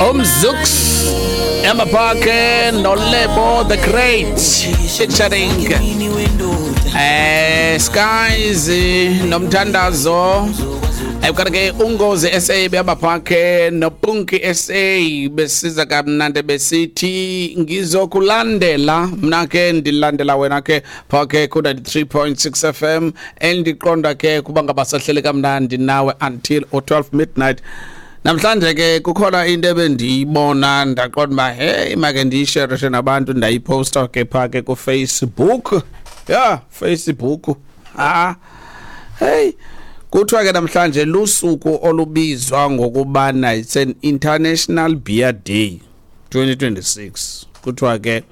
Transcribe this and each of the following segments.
Umzux Emma nolebo the Great featuring Skies nomthandazo. Kanti ke ungozi SA behamba phakhe nopunki SA besiza kamnandi besithi ngizokulandela mna ke ndilandela wena ke phakhe ku 93.6 FM, endiqonda ke kuba ngabasahleli kamnandi nawe until 12 midnight. Namhlanje ke kukhona into ebendiyibona, ndaqonda uba hey, make ndiyisherishe nabantu, ndayiposta ke phaa ke kuFacebook. Ya, Facebook. Ah, hey, kuthiwa ke namhlanje lusuku olubizwa ngokubana it's an International Beer Day 2026. Kuthiwa ke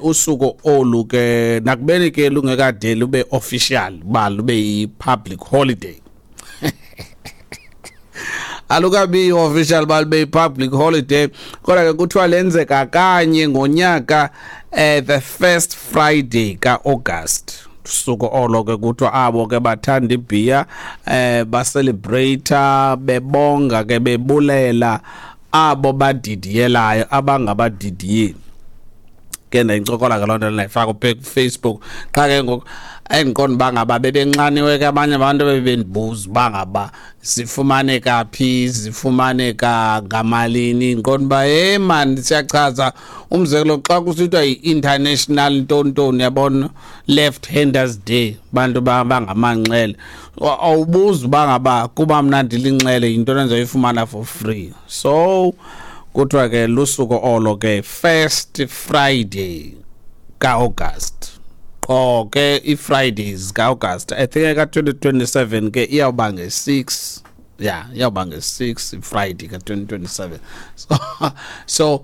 usuku olu ke, nakubeni ke lungekade lube official ba lube yi-public holiday, alukabi official ba lube yi-public holiday, kodwa ke kuthiwa lenzeka kanye ngonyaka, the first Friday ka-August. Suku olo ke kuthiwa abo ke bathanda ibhiya bacelebrate, bebonga ke, bebulela abo badidiyelayo, abangabadidiyeli ke. Ndayincokola ke loo nto, ndayifaka kuFacebook. Qha ke ngoku endiqonda uba ngaba bebenxaniwe ke abanye abantu, bebendibuza uba ngaba zifumaneka phi, zifumaneka ngamalini. Ndiqonda uba hey man, siyachaza. Umzekelo, xa kusithiwa yi-international ntontoni, yabona, Left Handers Day, bantu bangamanxele, awubuzi uba ngaba kuba mna ndilinxele yintoni endizoyifumana for free. So kuthiwa ke lusuku olo ke, first Friday ka-August, qho ke i-Fridays ka-August. I think ka-2027 ke iyawuba nge-6, ya, iyawuba nge-6 iFriday ka-2027. So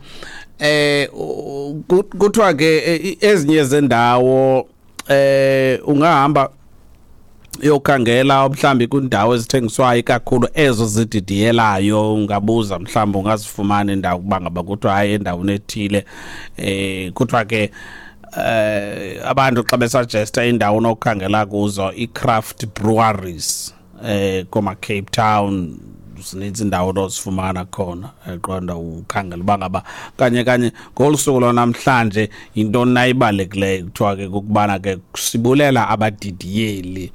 kuthiwa ke ezinye zendawo ungahamba yokhangela mhlambi kwindawo ezithengiswayo kakhulu ezo zididiyelayo, ungabuza, mhlawumbi ungazifumana indawo kuba ngaba kuthiwa hayi, endaweni ethile. Kuthiwa ke abantu xa besuggesta indawo onokukhangela kuzo, i-craft breweries koma Cape Town, zininzi indawo onozifumana khona. Eqonda ukhangela uba ngaba kanye kanye ngolu suku lwanamhlanje yintoni nayibalulekileyo. Kuthiwa ke kukubana ke sibulela abadidiyeli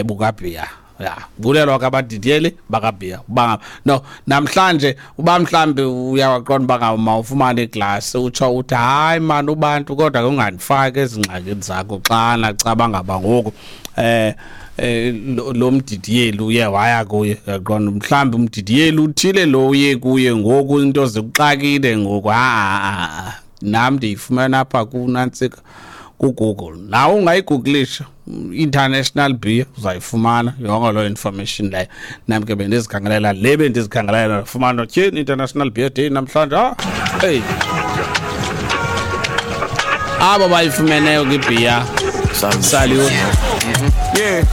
bukabhiya, ya, bulelwa ke abadidiyeli bakabhiya. Uba no namhlanje uba mhlambi uyawaqonda uba ngaba mawufumane iglasi, utsho uthi hayi mani ubantu, kodwa ke ungandifaki ezingxakini zakho xana caba ngaba ngoku lo mdidiyeli uye waya kuye, yaqonda mhlawumbi umdidiyeli uthile lo uye kuye ngoku into zikuxakile ngoku. Ha, nam ndiyifumana apha kunantsika kuGoogle, nawe ungayigooglisha International Beer, uzayifumana yonke loo information leyo. Nam ke bendizikhangelela le, bendizikhangelela, ndafumana tyhini, International Beer Day namhlanje. Ah, hey, abo bayifumeneyo kwibhiya, salute. Yeah.